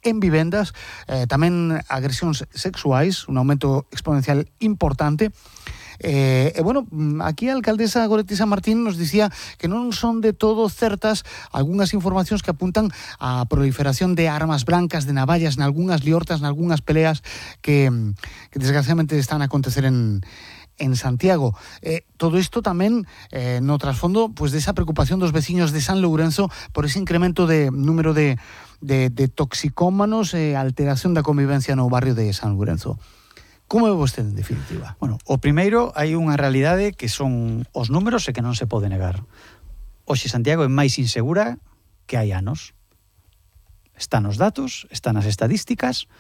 en vivendas, tamén agresións sexuais, un aumento exponencial importante. Bueno, aquí a alcaldesa Goretti San Martín nos dicía que non son de todo certas algunhas informacións que apuntan a proliferación de armas brancas, de navallas, nalgunhas liortas, nalgunhas peleas que desgraciadamente están a acontecer en Santiago. Todo isto tamén no trasfondo pues, desa preocupación dos veciños de San Lourenzo por ese incremento de número de toxicómanos e alteración da convivencia no barrio de San Lourenzo. Como é vostede, en definitiva? Bueno, o primeiro, hai unha realidade que son os números e que non se pode negar. Hoxe Santiago é máis insegura que hai anos. Están os datos, están as estadísticas,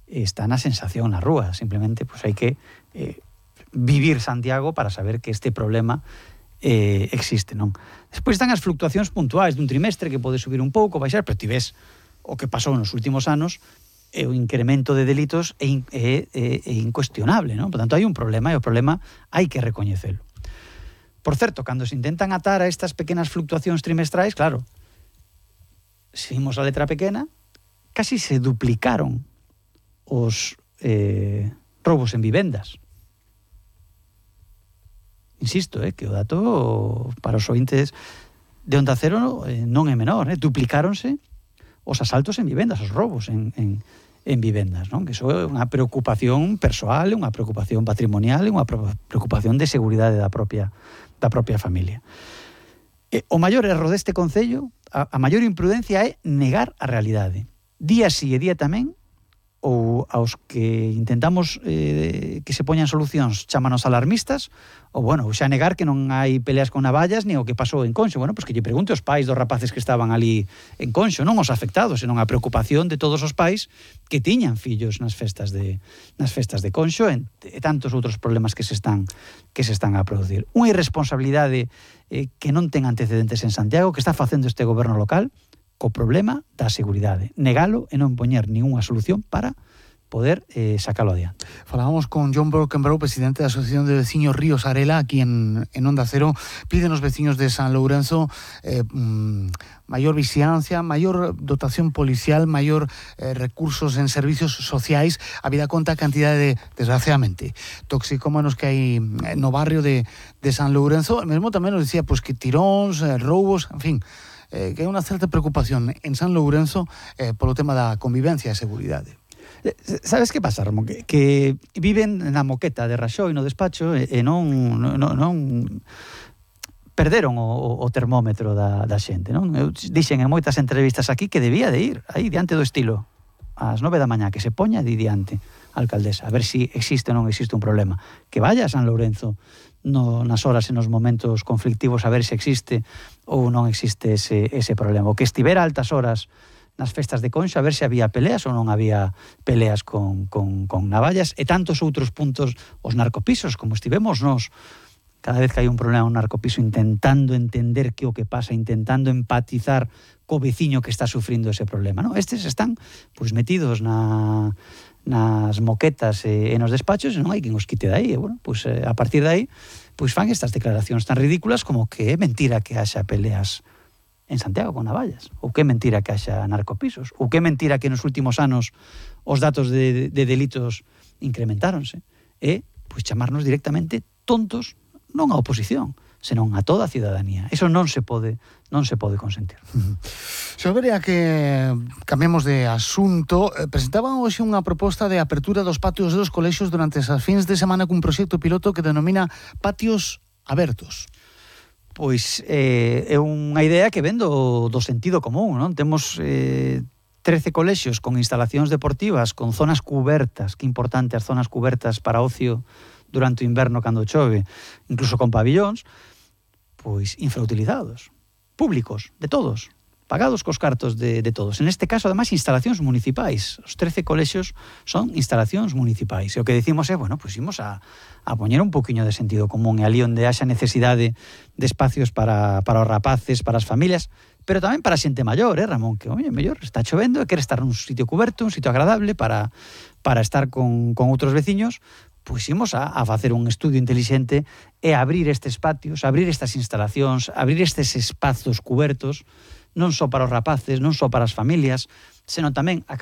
está na sensación na rúa. Simplemente pues, hai que vivir Santiago para saber que este problema existe, non? Despois están as fluctuacións puntuais dun trimestre que pode subir un pouco, baixar, pero ti ves o que pasou nos últimos anos, o incremento de delitos é incuestionable, non? Por tanto, hai un problema e o problema hai que recoñecelo. Por certo, cando se intentan atar a estas pequenas fluctuacións trimestrais, claro, se vimos a letra pequena, casi se duplicaron os roubos en vivendas. Insisto, que o dato para os ointes de Onda Cero non é menor, duplicáronse os asaltos en vivendas, os roubos en vivendas, non? Que iso é unha preocupación persoal, unha preocupación patrimonial e unha preocupación de seguridade da propia familia. O maior erro deste concello, a maior imprudencia é negar a realidade. Día sí e día tamén, ou aos que intentamos que se poñan solucións chámanos alarmistas, ou bueno, xa negar que non hai peleas con navallas ni o que pasou en Conxo. Bueno, pois que lle pregunte aos pais dos rapaces que estaban ali en Conxo, non os afectados, senón a preocupación de todos os pais que tiñan fillos nas festas de Conxo e tantos outros problemas que se están a producir. Unha irresponsabilidade que non ten antecedentes en Santiago, que está facendo este goberno local co problema da seguridade. Negalo e non poñer ninguna solución para poder sacalo adiante. Falábamos con John Brockenbrough, presidente da Asociación de Veciños Ríos Arela, aquí en Onda Cero. Piden os veciños de San Lourenzo maior vixiancia, maior dotación policial, maior recursos en servicios sociais, habida conta a cantidade de, desgraciadamente, toxicómanos que hai no barrio de San Lourenzo. Mesmo tamén nos dicía pues, que tiróns, roubos, en fin, que hai unha certa preocupación en San Lourenzo polo tema da convivencia e seguridade. Sabes que pasa, Ramón? Que viven na moqueta de Raxoi no despacho e non perderon o termómetro da xente, non? Eu dixen en moitas entrevistas aquí que debía de ir aí diante do estilo ás 9 da mañá, que se poña diante a alcaldesa, a ver se existe ou non existe un problema. Que vaya a San Lourenzo nas horas e nos momentos conflictivos a ver se existe ou non existe ese problema. O que estivera a altas horas nas festas de Conxo a ver se había peleas ou non había peleas con navallas e tantos outros puntos, os narcopisos, como estivemos nós cada vez que hai un problema un narcopiso intentando entender que o que pasa, intentando empatizar co veciño que está sufrindo ese problema, non? Estes están pois metidos nas moquetas e nos despachos e non hai quen os quite dai, e bueno, pois a partir de aí pois fan estas declaracións tan ridículas como que é mentira que haxa peleas en Santiago con navallas, ou que é mentira que haxa narcopisos, ou que é mentira que nos últimos anos os datos de delitos incrementáronse, e pois chamarnos directamente tontos non a oposición, senón a toda a cidadanía. Eso non se pode consentir. Se vería que cambiemos de asunto, presentaban hoxe unha proposta de apertura dos patios dos colexios durante esas fins de semana cun proxecto piloto que denomina Patios Abertos. Pois é unha idea que ven do sentido común, non? Temos 13 colexios con instalacións deportivas, con zonas cubertas, que importante as zonas cubertas para ocio durante o inverno cando chove, incluso con pabillóns, pois infrautilizados, públicos, de todos, pagados cos cartos de todos. En este caso, ademais, instalacións municipais. Os 13 colexios son instalacións municipais. E o que decimos é, bueno, pois imos a poñer un poquinho de sentido común e ali onde haxa necesidade de espacios para os rapaces, para as familias, pero tamén para a xente maior, Ramón, que, oye, mellor está chovendo e quere estar nun sitio cuberto, un sitio agradable para estar con outros veciños, pois imos a facer un estudio intelixente e abrir estes patios, abrir estas instalacións, abrir estes espazos cubertos, non só para os rapaces, non só para as familias, senón tamén a